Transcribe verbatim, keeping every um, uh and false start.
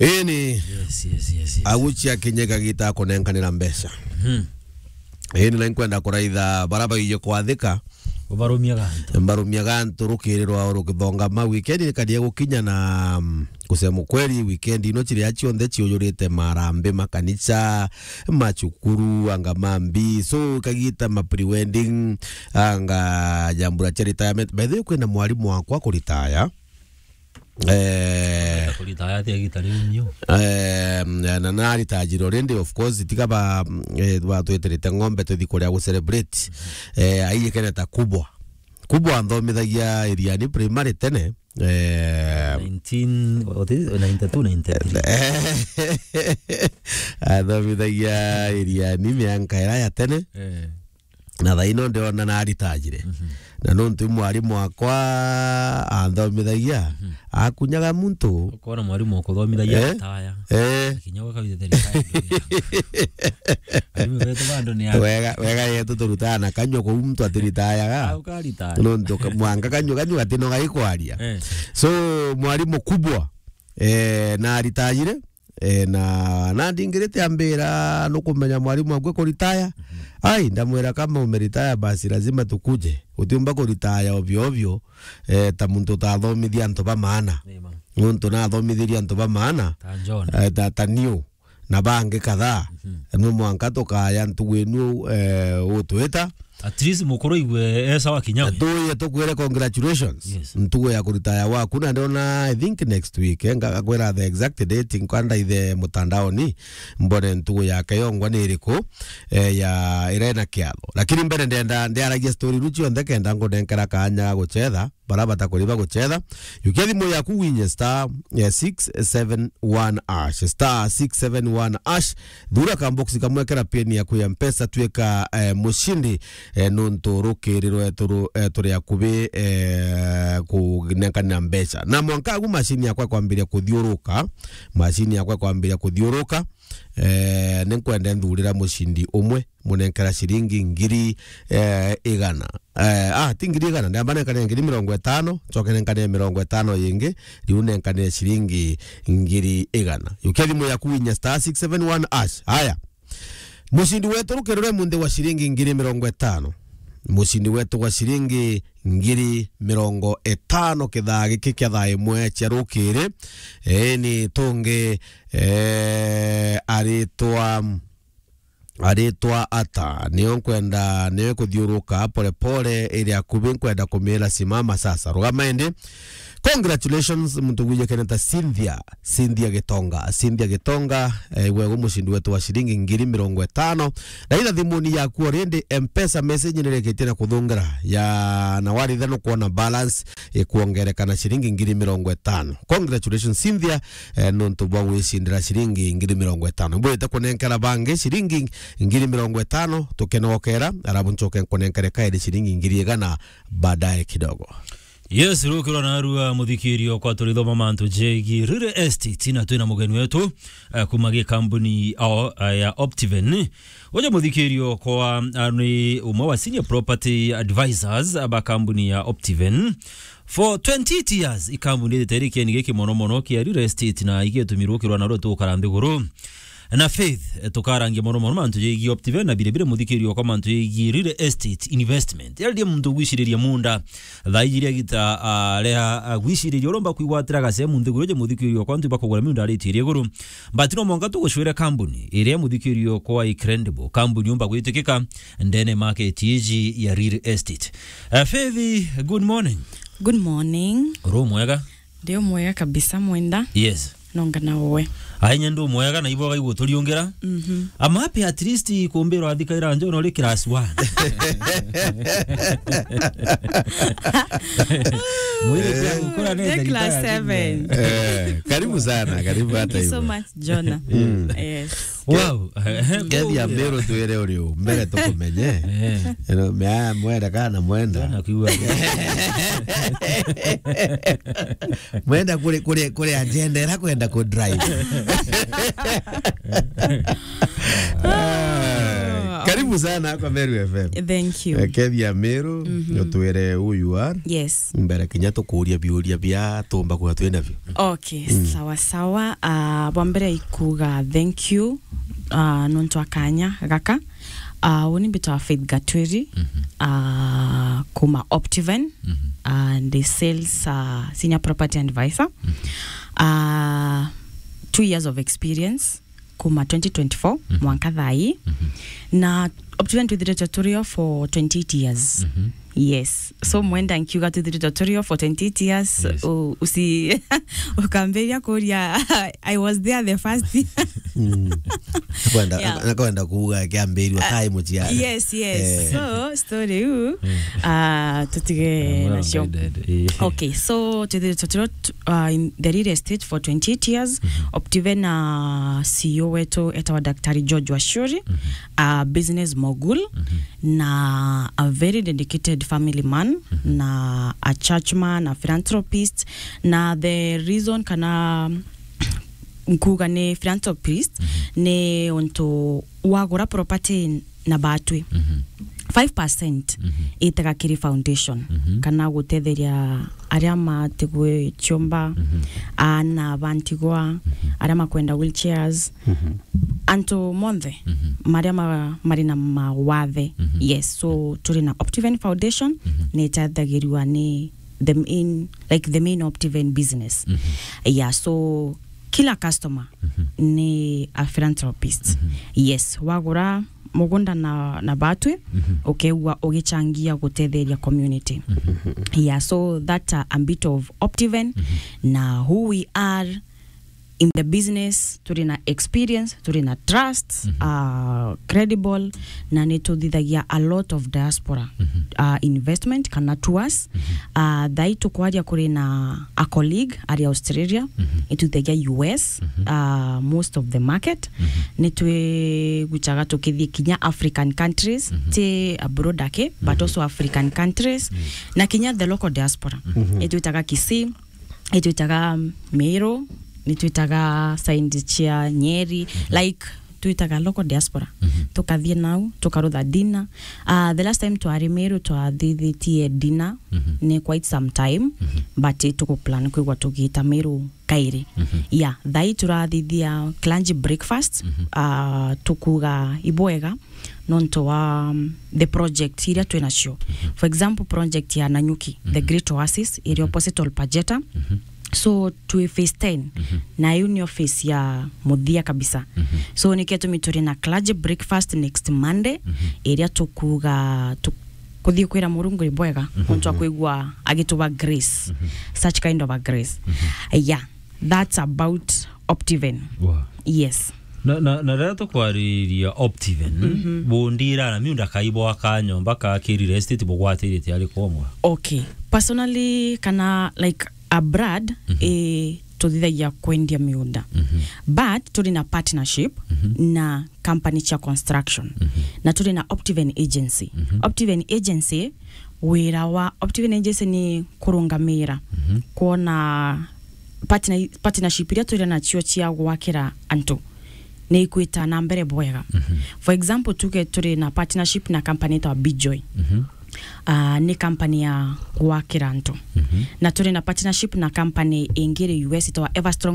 Ini. Yes, yes, yes, yes. Agucia kinya kagita kunenkanira mbeca. Mhm. Ini na nkwenda kuraitha bara baije kwathika. Ubarumia gantu. Mbarumia gantu rukiri rwao rukithongama. Weekend ikaria gukinya na, mm, kusema kweli, weekend ino ciria cionthe ciujurite marambi, makanisa, macukuru, anga mambi. So, kagita ma pre-wedding, anga jambura cia retirement. By the way, kwina mwarimu wakwa kuritaya. Eh, kuritaya atia gita riu nio? Eh, na, na aritajire already, of course, tiga ba, eh, batweterete ng'ombe tuthi kuria gu celebrate. Eh, aiyikene ta kubwa. Kubwa anthomithagia Iriani primary tene. Eh, nineteen, what is it? Ninety-two, ninety-three. Athomithagia Iriani mianka ira ya tene. Eh. Na thaa ino ndiona na aritajire. Mhm. Na nontu mwarimu wakwa anthomithagia, mhm, akunyaga muntu. Ukona mwarimu ukuthomithagia, eh, ataya. Eh. Kinya gwaka withe thirikari. Arimu betu bado ni a- Wega, wega yetu turutaga na kanyua kuu muntu atiritayaga. Au karitaya. Nontu ka-, mwanka kanyua, kanyua gatinoga ikwaria. Eh. So, mwarimu kubwa, eh, na aritajire, Eh, na, na ndingirite ambira, "Nukumenya mwarimu akwe kuritaya?" Mhm. Ai, ndamwira, "Kama umeritaya, basi lazima tukuje. Utiumba kuritaya ovyo ovyo, eh, ta muntu utathomithia antu ba maana." Amen. Nontu nathomithirie antu ba maana, ta John, eh, ta, ta niu, na bangi kadhaa. Mhm. No mwanka tukaya ntugu inu, eh, utwita. At least mukuru igwe e sawa kinya we. Tuye tukwire congratulations. Yes. Ntugu ya kuritaya waku, na ndona, I think next week, eh, ngakwira the exact date, nkwenda ithe mutandaoni, mbone ntugu yake yongwa ni iriku, eh, ya ira ina kiatho. Lakini mbere ndenda ndiaragia story iru cionthe kenda ngunenkera kanya ga gucetha, bara batakuriba gucetha. Yukia thimu yaku winye star, eh, six seven one hash, star six seven one hash. Thura kamboksi kamwe kera pin yaku ya Mpesa, twika, eh, mushindi, eh, nontu rukiri rwetu ru-, eh, turi akubi, eh, kunenkanira mbeca. Na mwanka agu mashini yakwa kwambiria kuthiuruka, mashini yakwa kwambiria kuthiuruka, eh, ninkwenda nthurira mushindi umwe, munenkera ciringi ngiri, eh, igana. Eh, ah, ti ngiri igana, ndamba nenkane ngiri mirongo itano, ncoke nenkane mirongo itano yingi, riu nenkane ciringi ngiri igana. Yukia thimu yaku winye star six seven one hash. Haya. Mushindi wetu rukiri rwe munthi wa ciringi ngiri mirongo itano. Mushindi wetu wa ciringi ngiri mirongo itano kithaa giki kia thaa imwe cia rukiri. Eni tungi, eh, aritwa aritwa ata? Nio nkwenda, nio kuthiuruka pole pole, iri akubi nkwenda kumira simama sasa. Rugama indi. Congratulations, muntu gwije keneta Cynthia, Cynthia Gitonga, Cynthia Gitonga, eh, gwe gu mushindi wetu wa ciringi ngiri mirongo itano. Na ira thimuni yaku already, Mpesa message nireketie na kuthungira. Ya, na waritha no kuona balance ikuongereka na ciringi ngiri mirongo itano. Congratulations, Cynthia, eh, nontu bwa gwicindira ciringi ngiri mirongo itano. Mbwite kunenkera bangi ciringi ngiri mirongo itano, tukenokera, arabu ncoke nkunenkere kairi ciringi ngiri igana baadaye kidogo. Yes, rukirwa narua muthikirio kwa turithoma mantu jegi real estate, na twina mugeni wetu, eh, kuma gi kambuni, o, eh, ya Optiven. Uja muthikirio kwa, ah, ni umwe wa senior property advisors ba kambuni ya Optiven. For twenty-eight years, i kambuni ithite iri kieni giki mono mono kia real estate na igetumirwo kirwa narua tukara nthiguru. Na Faith, eh, tukarangia mono mono mantu jegi Optiven na bire bire muthikirio kwa mantu jegi real estate investment. Yaririe muntu gwiciriria munda, thaa iji ria gita, ah, ria, ah, gwiciriria uromba kwigwatira gacemu nthiguru je muthikirio kwa antu bakugura miunda aritirie iguru. But no mwanka tugucwire kambuni iria muthikirio kwa incredible, kambuni umba gwitikika ndene market iji ya real estate. Eh, Faith, good morning. Good morning. Uri mwega? Ndi o mwega kabisa, Mwenda. Yes. Nonga na uwe. Ai, nye ndi o mwega na ibo gaigua turiungira. Mhm. I'm happy at least kumbirwa athikaira njo no ri class one. Mwiri pia ukura ne. Ndi class seven. Eh, karibu sana, karibu hata hivyo. Thank you so much, Jonah. Mm. Yes. Wow. Kethi ya mbero twire uri u, mbere tukumenye. Eh. Eno, mea, mwenda kana mwenda. Kana kiwa. Mwenda kule, kule, kule agenda ira kwenda ku drive. Ah, karibu. Sana kwa Meru F M. Thank you. Eh, Kethi ya Meru, Mhm. utwire who you are. Yes. Mbere kinya tukuria biuria bia tumba kwa twina bio. Okay, Mm. sawa sawa. Ah, bwa mbere ikuga thank you, ah, nontu akanya gaka. Ah, uni mbitwa Faith Gatwiri, Mhm. ah, kuma Optiven, Mhm. and the sales, ah, senior property advisor. Mhm. Ah, two years of experience. Kuma twenty twenty-four Mhm. mwanka thaa ii. Mhm. Na Optiven twithiritwe turio for twenty-eight years. Mhm. Yes. So mwenda nkiuga twithiritwe turio for twenty-eight years. Yes. U-, usi-, ukambiria kuria, I was there the first. Mm. Nakwenda, Yeah. nakwenda kuuga kiambirwa Ah, kai muciara. Yes, yes. Eh. So, story u, Mm. ah, tutige Mwana nacio. Guided, eh. Okay, so twithiritwe turio uh, in the real estate for twenty-eight years. Mhm. Optiven na C E O wetu etawa Daktari George Wachuri, Mhm. a business mogul, Mhm. na a very dedicated family man, Mhm. na a church man, a philanthropist. Na the reason kana nkuga ni philanthropist, Mhm. ni untu wagura property na batwi. Mhm. Five percent Mhm. itaga kiri foundation, Mhm. kana gutetheria aria matigwe ciumba, Mhm. aana bantigwa, Mhm. aria makwenda wheelchairs, Mhm. antu monthe Mhm. maria ma-, mari na mawathe. Mhm. Yes, so turi na Optiven Foundation, Mhm. ni itethagirua ni the main, like, the main Optiven business. Mhm. Yeah, so kila customer Mhm. ni a philanthropist. Mhm. Yes, wagura mugunda na, na batwi, Mhm. ukeegua ugichangia gutetheria community. Mhm. Yeah, so that, uh, a bit of Optiven, Mhm. na who we are in the business, turi na experience, turi na trust, Mhm. uh, credible, na ni tuthithagia a lot of diaspora, Mhm. uh, investment kana tours. Mhm. Uh, thai tukwaria kuri na a colleague ari Australia, Mhm. itwithagia U S, Mhm. uh, most of the market. Mhm. Ni twigucaga tukithii kinya African countries, Mhm. ti abroad ake, but Mhm. also African countries, Yes. na kinya the local diaspora. Mhm. Itwitaga Kisii, itwitaga Meru, nitwitaga side cia Nyeri, Mhm. like, twitaga local diaspora. Mhm. Tukathii nau, tukarutha dinner. Uh, the last time twari Meru twathithitie dinner, Mhm. ni quite some time, Mhm. but tukuplan kwigua tugiita Meru kairi. Mhm. Yeah, thai turathithia clergy breakfast, Mhm. uh, tukuga ibwega nontu wa, um, the project iria twinacio. Mhm. For example, project ya Nanyuki, the Mhm. Great Oasis, iria Mhm. opposite Olpajeta. Mhm. So, twi phase ten, Mhm. na iu ni office ya muthia kabisa. Mhm. So, nikio tumi turi na clergy breakfast next Monday, Mhm. iria tukuga tu-, kuthii kwira Murungu ibwega, Mhm. nontu akwigua agituba grace, Mhm. such kind of a grace. Mhm. Yeah, that's about Optiven. Wow. Yes. Na, na, na riria tukwariria Optiven, Mhm. bundira na miunda kaibo aka nyomba ka ki real estate bugwatiritie ari komwa? Okay. Personally, kana, like, abroad, Mhm. eh, tuthithagia kwendia miunda. Mhm. But turi na partnership Mhm. na company cia construction. Mhm. Na turi na Optiven Agency. Mhm. Optiven Agency, wira wa Optiven Agency ni kurungamira, Mhm. kwona partner-, partnership iria turi nacio cia gwakira antu ni ikwita na mbere bwega. Mhm. For example, tuge turi na partnership na company itawa Bijoy. Mhm. Ah, ni company ya gwakira antu. Mhm. Na turi na partnership na company ingi iri U S itawa Everstrom